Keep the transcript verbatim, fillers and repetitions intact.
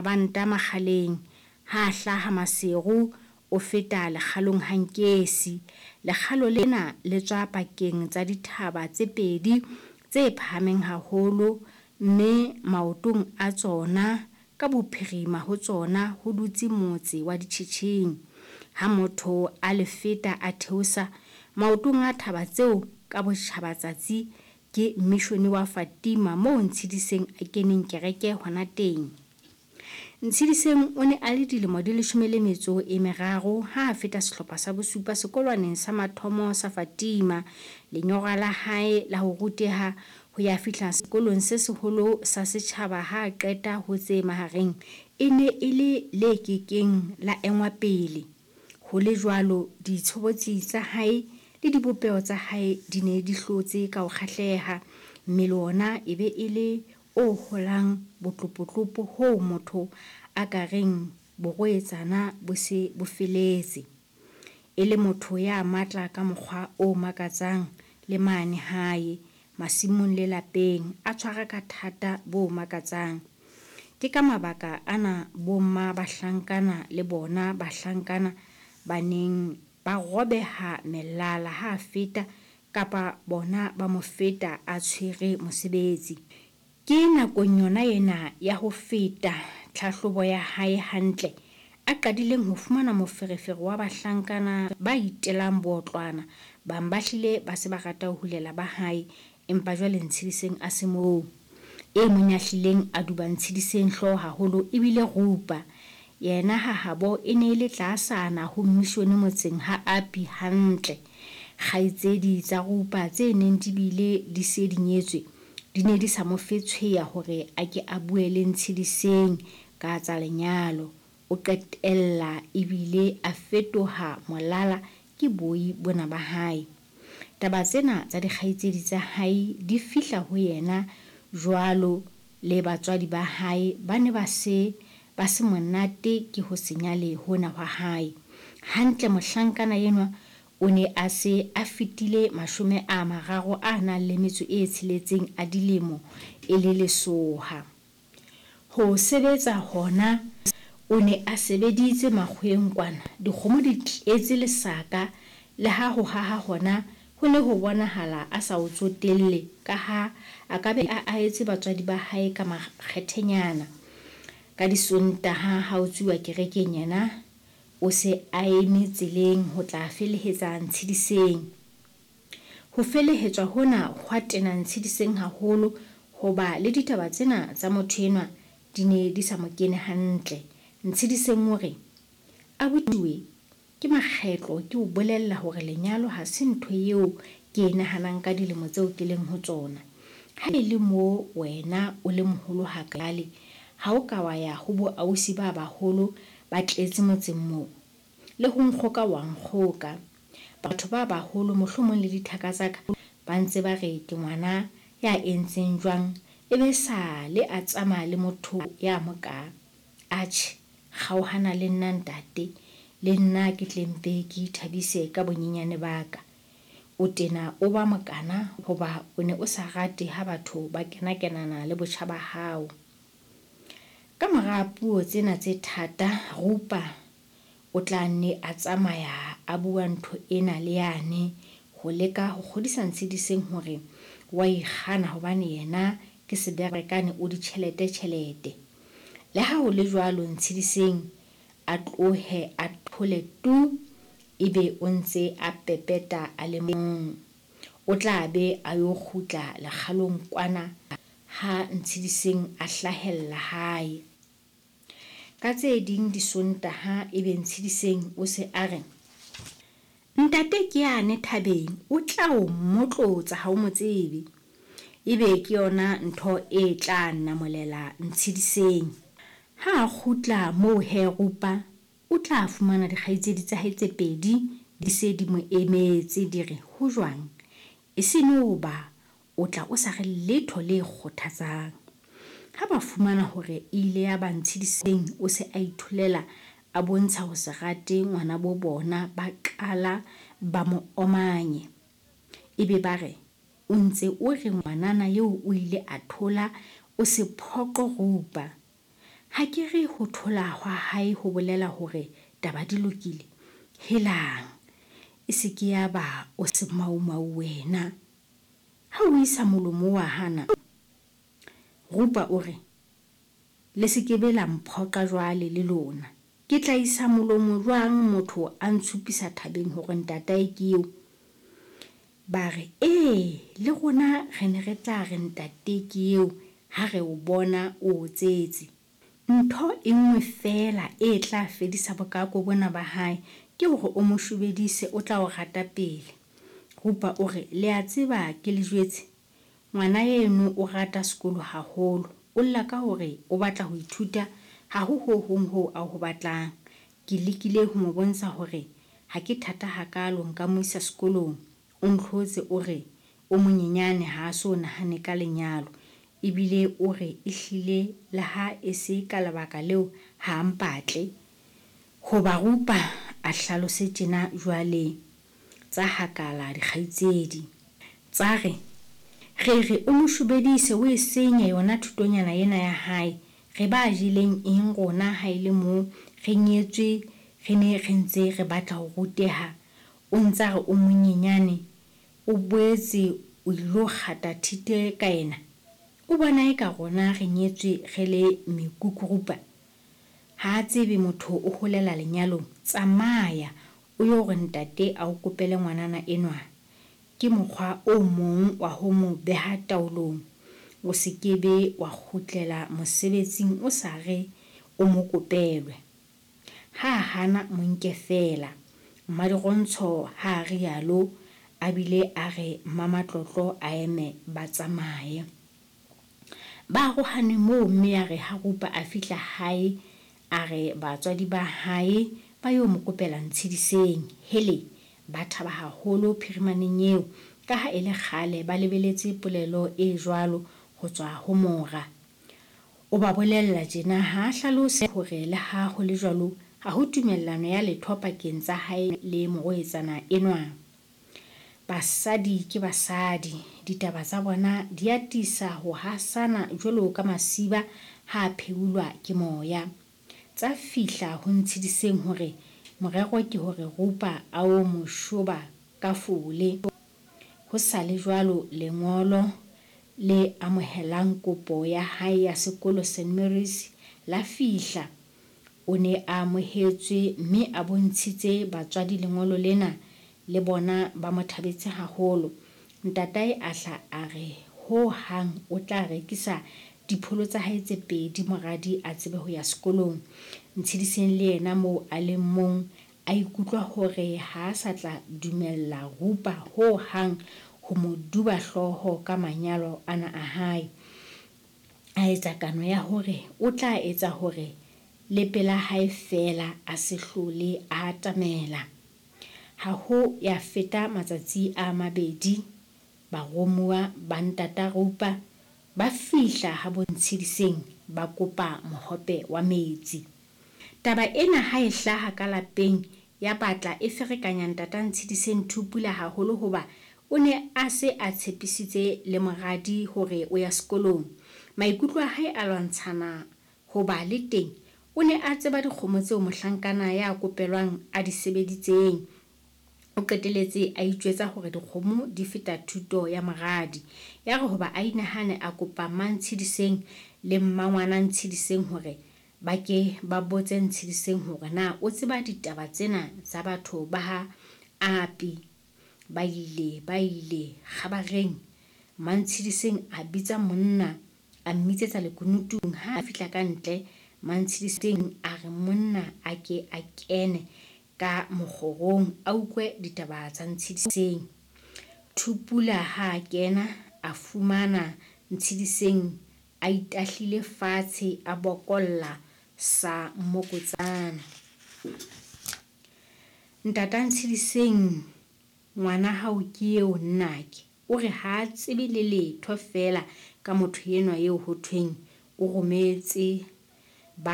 Mabanta Makgaleng. Ha a hlaha Maseru o feta lekgalong ha Nkesi. Lekgalo lena le tswa pakeng tsa dithaba tse pedi tse phahameng haholo, mme maotong a tsona ka bophirima ho tsona ho dutse motse wa Ditjhetjheng. Ha motho a le feta a theosa maotong a thaba tseo ka botjhabatsatsi ke mishone wa Fatima moo Ntshediseng a keneng kereke hona teng. Ntshediseng o ne a le dilemo di leshome le metso e meraro ha a feta sehlopha sa bosupa sekolwaneng sa mathomo sa Fatima. Lenyora la hae la ho ruteha ho ya fihla sekolong se seholo sa setjhaba ha a qeta ho tse mahareng e ne e le le ke keng la engwa pele. Ho le jwalo, ditshobotsi tsa hae le dibopeho tsa hae di ne di hlotse ka ho kgahleha. Mmele wona e be e le o holang botlopotlopo hoo motho a ka reng borwetsana bo se bo feletse. E le motho ya matla ka mokgwa o makatsang le mane hae, masimong le lapeng, a tshwara ka thata bo makatsang. Ke ka mabaka ana bomma bahlankana le bona bahlankana ba neng ba robeha melala ha a feta kapa bona ba mo feta a tshwere mosebetsi. Ke nakong yona ena ya ho feta tlhahlobo ya hae hantle a qadileng ho fumana moferefere wa bahlankana ba itelang bootlwana. Bang ba hlile ba se ba rata ho hulela ba hae, empa jwale Ntshediseng a se moo. E mong ya hlileng a duba Ntshediseng hlooho haholo e bile Rupa. Yena ha habo e ne e le tlaasana ho mmishone motseng ha Api hantle. Kgaitsedi tsa Rupa tse neng di bile di se di nyetswe di ne di sa mo fe tshweya hore a ke a bue le Ntshediseng ka tsa lenyalo. O qetella ebile a fetoha molala ke boi bona ba hae. Taba tsena tsa dikgaitsedi tsa hae di fihla ho yena jwalo le batswadi ba hae ba ne ba se ba se monate ke ho se nyale hona hwa hae. Hantle mohlankana enwa o ne a se a fetile mashome a mararo a nang le metso e tsheletseng a dilemo e le lesoha. Ho sebetsa hona o ne a sebeditse makgoweng kwana, dikgomo di tletse lesaka, le ha ho haha hona ho ne ho bonahala a sa ho tsotelle ka ha a ka be a ahetse batswadi ba hae ka makgethenyana. Ka Disontaha ha ho tsuwa kerekeng yena o se a eme tseleng ho tla felehetsa Ntshediseng. Ho felehetswa hona hwa tena Ntshediseng haholo hoba le ditaba tsena tsa motho enwa di ne di sa mo kene hantle. Ntshediseng o re, Abuti we, ke makgetlo ke o bolella hore lenyalo ha se ntho eo ke e nahanang ka dilemo tseo ke leng ho tsona. Ha e le moo wena o le moholo hakaale, ha o ka wa ya ho bo ausi ba baholo ba tletse motseng moo. Le ho nkgoka wa nkgoka. Batho ba baholo mohlomong le dithaka tsa ka ba ntse ba re ke ngwana ya entseng jwang e be sale a tsamaya le motho ya mokaa. Atjhe, kgaohana le nna ntate, le nna ke tle mpe ke ithabise ka bonyenyane ba ka. O tena o ba mokana hoba o ne o sa rate ha batho ba kenakenana le botjha ba hao. Ka mora puo tsena tse thata, Rupa o tla nne a tsamaya a bua ntho ena le yane ho leka ho kgodisa Ntshediseng hore wa ikgana hobane yena ke seberekane o ditjhelete tjhelete. Le ha ho le jwalo Ntshediseng a tlohe a thole tu ebe o ntse a pepeta a le mong. O tla be a yo kgutla lekgalong kwana ha Ntshediseng a hlahella hae. Ka tse ding Disontaha ebe Ntshediseng o se a re, Ntate ke yane thabeng o tla o mmotlotsa ha o mo tsebe. Ebe ke yona ntho e tla namolela Ntshediseng. Ha a kgutla moo he Rupa o tla fumana dikgaitsedi tsa hae tse pedi di se di mo emetse di re, Ho jwang? E se no ba o tla o sa re letho le kgothatsang. Ha ba fumana hore e ile ya ba Ntshediseng o se a itholela a bontsha ho se rate ngwana bo bona ba qala ba mo omanye. Ebe ba re, O ntse o re ngwanana eo o ile a thola o se phoqo Rupa. Ha ke re ho thola hwa hae ho bolela hore taba di lokile? Helang, e se ke ya ba o semaumau wena. Ha o isa molomo wa hana. Rupa o re, Le se ke be la mphoqa jwale le lona. Ke tla isa molomo jwang motho a ntshupisa thabeng hore ntatae ke eo? Ba re, E, le rona re ne re tla re ntate ke eo ha re o bona o otsetse. Ntho e nngwe feela e tla fedisa bokaako bona ba hae ke hore o mo shobedise, o tla o rata pele. Rupa o re, Le a tseba ke le jwetse? Ngwana eno o rata sekolo haholo. O lla ka hore o batla ho ithuta, ha ho ho hong hoo a ho batlang. Ke lekile ho mo bontsha hore ha ke thata hakaalo nka mo isa sekolong. O ntlhotse o re o monyenyane ha a so nahane ka lenyalo. Ebile o re ehlile le ha e se ka lebaka leo ha a mpatle. Hoba Rupa a hlalose tjena jwale tsa hakala dikgaitsedi. Tsa re, Re re o mo shobedise o e senye yona thutonyana ena ya hae. Re ba jeleng eng rona ha e le moo re nyetswe re ne re ntse re batla ho ruteha? O ntsa re o monyenyane, o boetse o ilo kgata thite ka yena? O bona eka rona re nyetswe re le mekukurupa? Ha a tsebe motho o holela lenyalong. Tsamaya o yo re ntate a o kopele ngwanana enwa. Ke mokgwa o mong wa ho mo beha taolong. O se ke be wa kgutlela mosebetsing o sa re o mo kopelwe. Ha a hana mo nke feela. Mmadirontsho ha a rialo a bile a re Mmamatlotlo a eme ba tsamaye. Ba arohane moo mme yare ha Rupa a fihla hae a re batswadi ba hae ba yo mo kopela Ntshediseng. Hele, ba thaba haholo phirimaneng eo ka ha e le kgale ba lebeletse polelo e jwalo ho tswa ho mora. O ba bolella tjena ha a hlalose hore le ha ho le jwalo ha ho tumellano ya letho pakeng tsa hae le morwetsana enwa. Basadi ke basadi, ditaba tsa bona di atisa ho hasana jwalo ka masiba ha a pheulwa ke moya. Tsa fihla ho Ntshediseng hore morero ke hore Rupa a o mo shoba ka fole. Ho sa le jwalo lengolo le amohelang kopo ya hae ya sekolo Saint Mary's la fihla. O ne a amohetswe mme a bontshitse batswadi lengolo lena le bona ba mo thabetse haholo. Ntatae a hla a re ho hang o tla rekisa dipholo tsa hae tse pedi moradi a tsebe ho ya sekolong. Ntshediseng le yena moo a leng mong a ikutlwa hore ha a sa tla dumella Rupa ho hang ho mo duba hlooho ka manyalo ana a hae. A etsa kano ya hore o tla etsa hore le pela hae feela a se hlole a atamela. Ha ho ya feta matsatsi a mabedi baromuwa ba ntata Rupa ba fihla ha bo Ntshediseng ba kopa mohope wa metsi. Taba ena ha e hlaha ka lapeng ya batla e ferekanya ntata Ntshediseng Thupula haholo hoba o ne a se a tshepisitse le moradi hore o ya sekolong. Maikutlo a hae a lwantshana hoba le teng o ne a tseba dikgomo tseo mohlankana ya kopelwang a di sebeditseng. O qeteletse a itjwetsa hore dikgomo di feta thuto ya moradi. Ya re hoba a inahane a kopa Mmantshediseng le mmangwana Ntshediseng hore ba ke ba botse Ntshediseng hore na o tseba ditaba tsena tsa batho ba ha Api. Ba ile ba ile kgabareng. Mmantshediseng a bitsa monna a mmitsetsa lekunutung. Ha a fihla ka ntle Mmantshediseng a re monna a ke a kene ka mokgorong a utlwe ditaba tsa Ntshediseng. Thupula ha a kena a fumana Ntshediseng a itahlile fatshe a bokolla sa mmokotsana. Ntata Ntshediseng ngwana hao ke eo nnake. O re ha a tsebe le letho feela ka motho enwa eo ho thweng o rometse